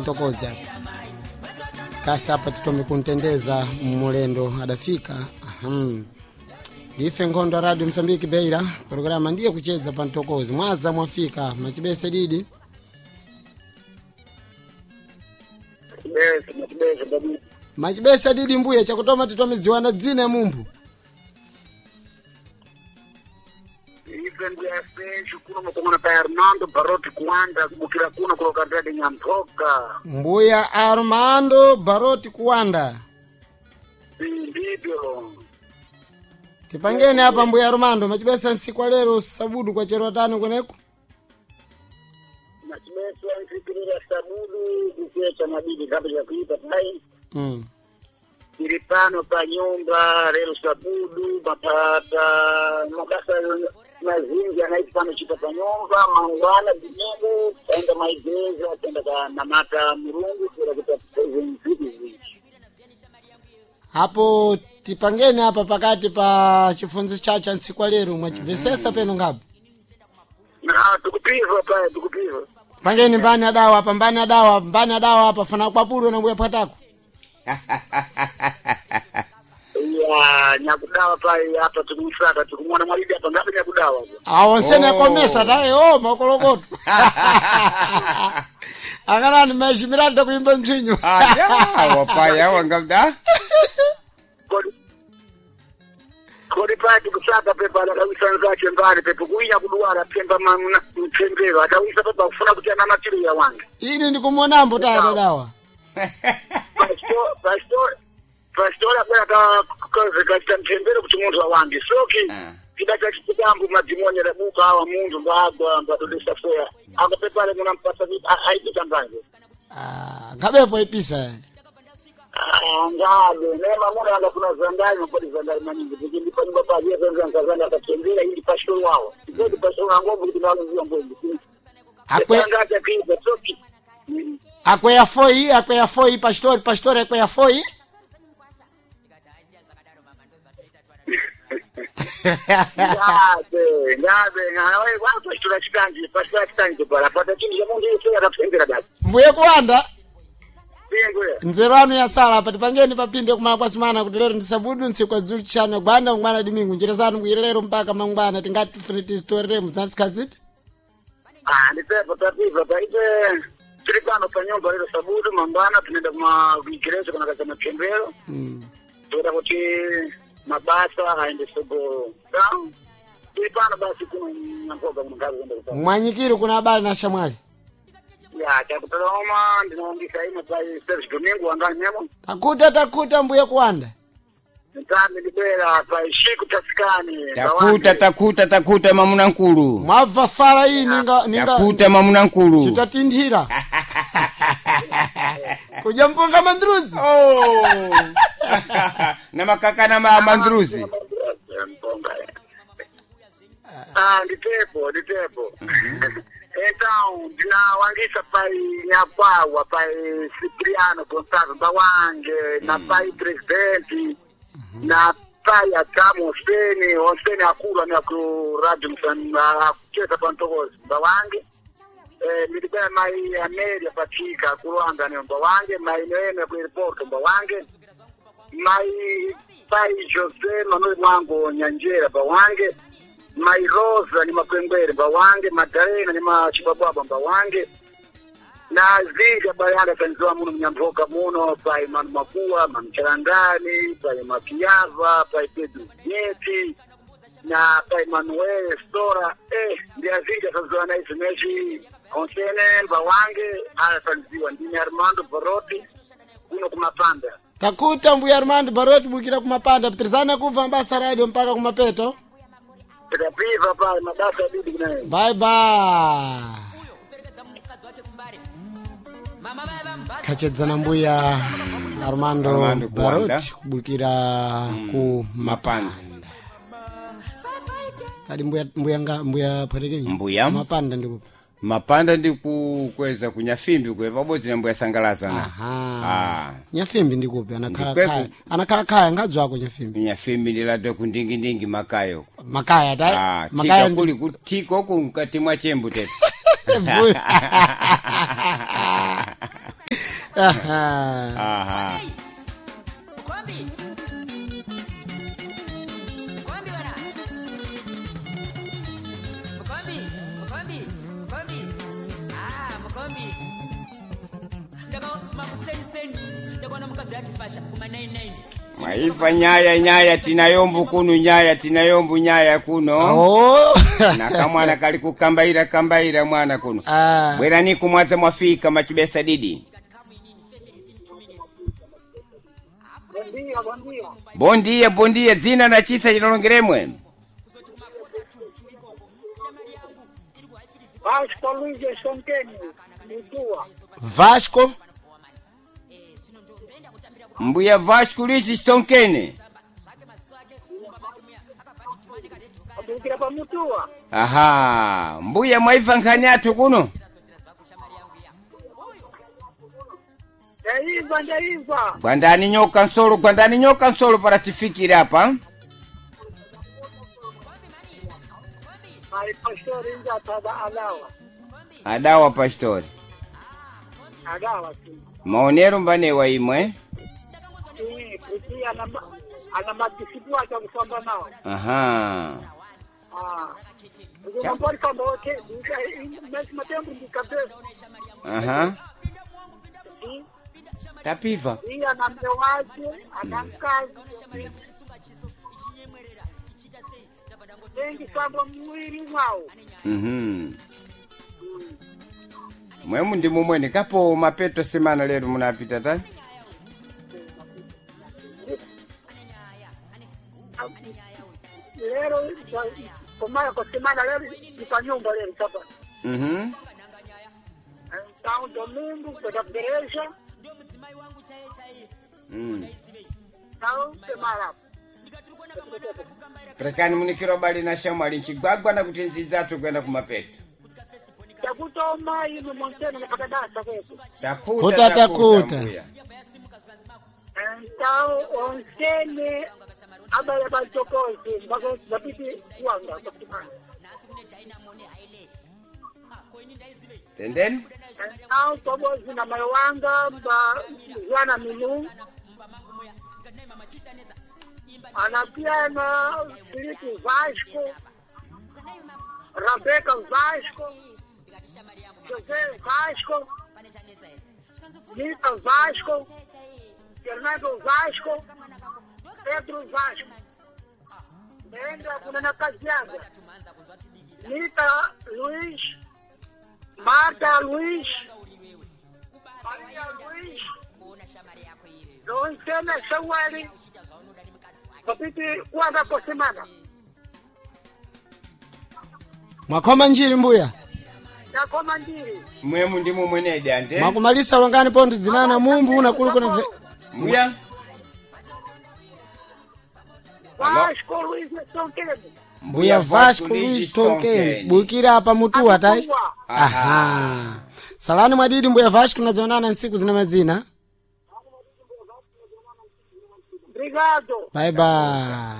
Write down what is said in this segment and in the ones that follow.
Ntokoza kasi apa titome kuntendeza mulendo adafika. Aham. Ndife nkhondo ya Radio Msambiki Beira, programa ndiye kucheza pa Ntokozi. Mwaza mwafika machibese didi. Machibese, machibese babu. Machibese didi mbuya chakutoma titome dziwana dzina ya mumphu. Ife ndiyase kuno mukongona pa Armando Baroti kuwanda kubukira kuno kulokatadi Nyampoka. Mbuya Armando Baroti kuwanda. Ndivyo. Tipangeni apa mbuya Armando machibesa nsiku lero sabudu kwa chero tano kweneko. Machibese anfikirira sabudu kuchecha mabidi kabla ya kuipa tai. Ili pano pa nyumba lero sabudu mapata mabasa mazingi anaiti pano chita pa nyumba mangwana dimingu taenda maigeza taenda ka namata murungu kura kuta mziki zingi. Hapo tipangeni apa pakati pa chifunzo chacha nsiku lero mwachivesesa peno ngapo. Na tukupiva pale tukupiva. Pangeni mbani adawa apa mbani adawa mbani adawa apa fana kwapulwe na mbuya phatako. Ya nyakudawa pale hapa tukumsaka tukumwona mwalidi hapa ngapi nyakudawa. Awonsene Oh. komesa taye o makolokoto. Akalani maishimirani kuimba mchinyo. Aya, wapaya wangamda. Kodi kodi pale tukusaka pepa akawisa nzache mbali pepo kuinya kuduwala pemba mamna mtembero akawisa pepa kufuna kuti anamatiri ya wange. Ini ndikumonambo taye adawa. Pastor pastor akwera ka kaze kachita mtembero kuti munthu awange soki Ah. chida chachitambu madhimoni adabuka awa munthu mbagwa mbadodesa foya akapepale munampasa aipita mbanje. Ah, ngabepo ipisa. Ngabe nema muna angafuna zandari mapoti zandari maningi kuti ndi panyumba paje zenza nkazanda akatembera ili pashoro wawo ikoti pashoro angombo kuti ndaluzia mbombo Akwe angacha kiza soki akweya foi akweya foi pastor pastor akweya foi. ngabe ngabe ngawe wapashtora chitanji pashtora chitanji pala pata chinhu chamundu yese akatembera basi. Mbuye kuwanda Singwe nzeru anu yasala apa tipangeni papinde kumala kwa simana kuti lero ndisabudu ntsiku adzulu chishanu gwanda mngwana dimingu njira zanu kuyira lero mpaka mangwana tingati tifune tizitoreremu zinatsikhadzipi. Ah, ndipepo tapiva paite tiri pano pa nyumba lero sabudu mangwana tunaenda kuma kuigereza kana kaza matembero toda kuti mabasa aende sogoro tiri pano basi kuno nyampoka kuno ngazi kuenda kupana Mwanyikiri kuna abale na shamwali. ya chakutoloma ndinoongisa imo pa service domingo wangani nyamo Takuta takuta mbuye kuwanda. ntambi ndibwera pa ishiku tasikani Takuta takuta takuta mamuna nkulu. Mwabva fala iyi ninga ninga Takuta mamuna nkulu. chitatinthira. Kudya mpunga mandruzi. Oh. Na makaka na mandruzi. Mponga. Ah, nditepo nditepo então ndinawangisa pai nyakwawa pai Cipriano Gonçalves Mbawange na pai presidente na pai Adamu Hoseni Hoseni akulu ani aku radio akucheza pa Ntokozi Mbawange ndilibaya mai Amelia Patika kulwanga ni Mbawange mai Neema ku airport Mbawange mai pai Jose Manuel Mwango Nyanjera Mbawange mai Rosa ni Makwengwere Mbawange Madalena ni Machibwabwabwa Mbawange na zinga bayanga tanziwa muno mnyamboka muno pai Manu Makua Manu Charangani pai Makiava pai Pedro Nyeti na pai Manuel Stora ndiazinga tanziwa na izi mechi onsene Mbawange aya tanziwa ndini Armando Baroti kuno kumapanda. Takuta mbuya Armando Baroti bukira kumapanda pitirizana kubva mabasa radio mpaka kumapeto. Tikapiva pale mabasa abidi kunaye. Bye bye. Kachedzana mbuya Armando, Armando Kuwanda. Baroti kubukira ku Mapanda. Kadi mbuya mbuya nga mbuya phatekenyi. Mbuya. Mapanda ndikupa. Mapanda ndikukweza kunyafimbi kwe pabodzi na mbuya sangalazana. Aha. Ah. Nyafimbi ndikupi anakhala Ndikweku. khaya. Anakhala khaya ngadzwako nyafimbi. Nyafimbi ndilade kundingindingi makayo. Makaya ta. Ah, Makaya tika kuli kutiko ku mkati mwa chembu tete. Mbuya. Aha. Aha. Mwaiva nyaya nyaya tinayombu kunu nyaya tinayombu nyaya kuno. Oh. Na kamwana kali kukambaira kambaira mwana kuno. Ah. Bwerani kumwaza mwafika machibesa didi. Bom dia, bom dia. Bondia bondia dzina na chisa chinalongeremwe. Vasco Luiz Sonkeni, Mutua. Vasco. Mbuya Vasco Luiz Stonkene. Abukira pa Mutua. Aha, mbuya mwaiva nkhani athu kuno. Ndaimva, ndaimva. Gwandani nyoka nsolo, gwandani nyoka nsolo para tifikire apa. Ai pastor inja tada alawa. Adawa pastori. Adawa tu. Maonero mbanewa imwe. Sim, porque ana matisipua cha kusamba nao. Aha. Ah. Porque não pode samba ok, mesmo tempo de cabeça. Aha. Sim. Tapiva. E ana meu wake, ana mkazi. Wengi samba mwili mwao. Mhm. Mwemu ndi mumwene kapo mapeto semana lero munapita ta. Lero komaya kwa semana lero ni pa nyumba lero sasa. Mhm. Então domingo kwenda kugereja, então semana. Prekani munikiro bali na shamwali nchigwagwa na kuti nzidzathu kwenda kumapeto. Takutoma ino monteno napakadasa kwetu. Takuta Kuta, takuta. mbuya. Então onsene abaya bachokozi mpaka bapiti kuwanga kwa semana. Tendeni? Então tobozi na mayo wanga mba Juana Milu anapiana Filipe Vasco, Rebeca Vasco, José Vasco, Nica Vasco, Fernando Vasco, Pedro Vasco. Nenda kuna na kazi yangu. Nica Luiz, Marta Luiz, Maria Luiz, Lontena Shawari, Papiti kuanga kwa semana. Mwakhoma njiri mbuya. Nakoma ndiri. Mwemu ndi mumwenedi ante. Mwakumalisa longani pontho dzinana mumbu unakulu kuna Mbuya? Vasco Luiz Tonkeni. Mbuya Vasco Luiz Tonkeni. Bukira apa mutuwa tai. Mutua. Aha. Salani mwadidi mbuya Vasco nazionana ntsiku zina mazina. Obrigado. Bye bye.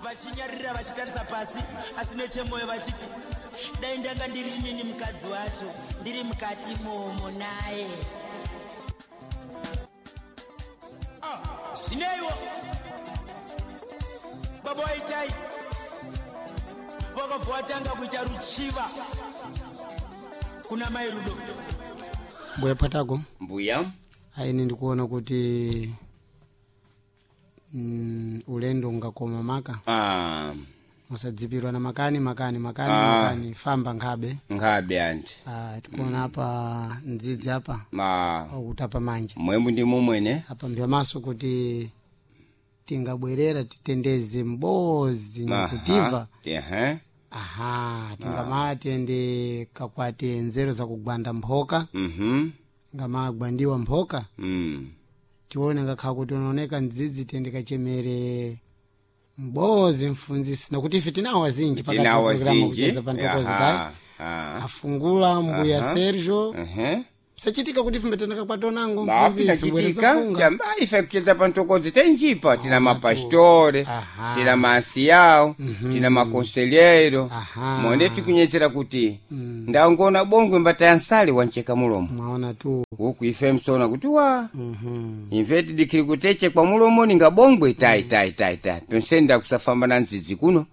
Vachinyarira vachitarisa pasi asi nechemwoyo vachiti dai ndanga ndiri nini mukadzi wacho ndiri mukati momo naye. Ah, zvineiwo baba waitai vakabva vatanga kuita ruchiva kuna mai Rudo. Mbuya Patago. Mbuya? Aini ndikuona kuti ulendo ungakoma maka. Ah, Musadzipirwa na makani makani makani Ah. makani famba nkhabe. nkhabe anti. Ah, tikuona apa ndzidzi apa Ma okutapa manja. mwemu ndi mumwene. Apa mbyamaso kuti tingabwerera titendeze mbozi nyakutiva. Ehe. Aha, tingamala tiyende kakwate nzeru za kugwanda mphoka, Mhm. ngamala gwandiwa mphoka, Mm. tione ngakhala kuti unaoneka ndzidzi tiyende kachemere mbozi mfunzisi nakuti ife tinawo azinji pakati pa Tinawo programu azinji. kucheza pa ntokozi Aha. tayi Ah. afungula mbuya Aha. Sergio Ehe. sachitika kuti ife mbatendeka kwatonango mfunzisi mbwereza Chitika funga jamba ife kucheza pantokozi tenjipa tina mapastore Aha. tina maasiyawo tina makonselheiro Aha. monde tikunyetsera kuti ndangona bongwe mbata ya nsale wancheka mulomo mwaona tu. Huku ife msona kuti wa imve tidikiri kuteche kwa mulomo ninga bongwe tai tai tai tai pensenda kusafamba na ndzidzi kuno.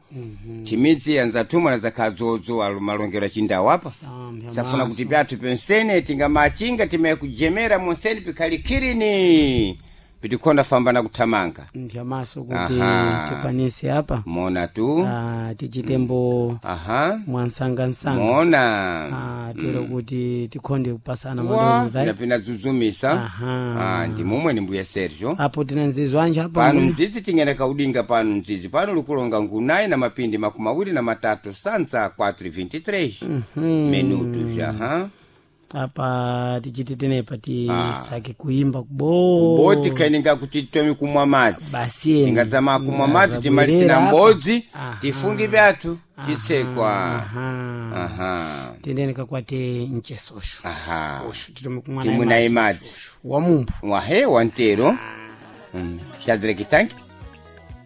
Timidzi anzathumwa na zakadzodzo alo malongero achindawu apa. Ah, Safuna kuti pyathu pensene tingamachinga timaye kujemera monseni pikhalikirini pitikhonda famba na kuthamanga. Mphya maso kuti Aha. tikwanise apa. Mona tu. Ah, tichitembo Aha. mwansangansanga. Mona. Ah, twero kuti tikhonde kupasana Wa, madoni tai. pinapina dzudzumisa. Aha. Ah, ndi mumwe ni mbuya Sergio. Apo tina nzizi wanje apo Pano mbuya? mdzidzi tingene kaudinga pano mdzidzi pano likulonga ngunayi na mapindi 23 sanza 4:23 minutos. Aha. Apa tichiti tenepa tisake kuimba kubo Boti kaininga kuti titomi kumwa madzi. Basi eni. Tingadzama kumwa madzi timalisira Ngazabwerera apa. mbodzi Aha. tifungi pyathu chitsekwa. Aha. Aha. Tendeni kakwate mchesosho. Aha. Osho titome kumwa Timwe naye madzi. Wamumphu. Wahe wantero. Shadrack tanki.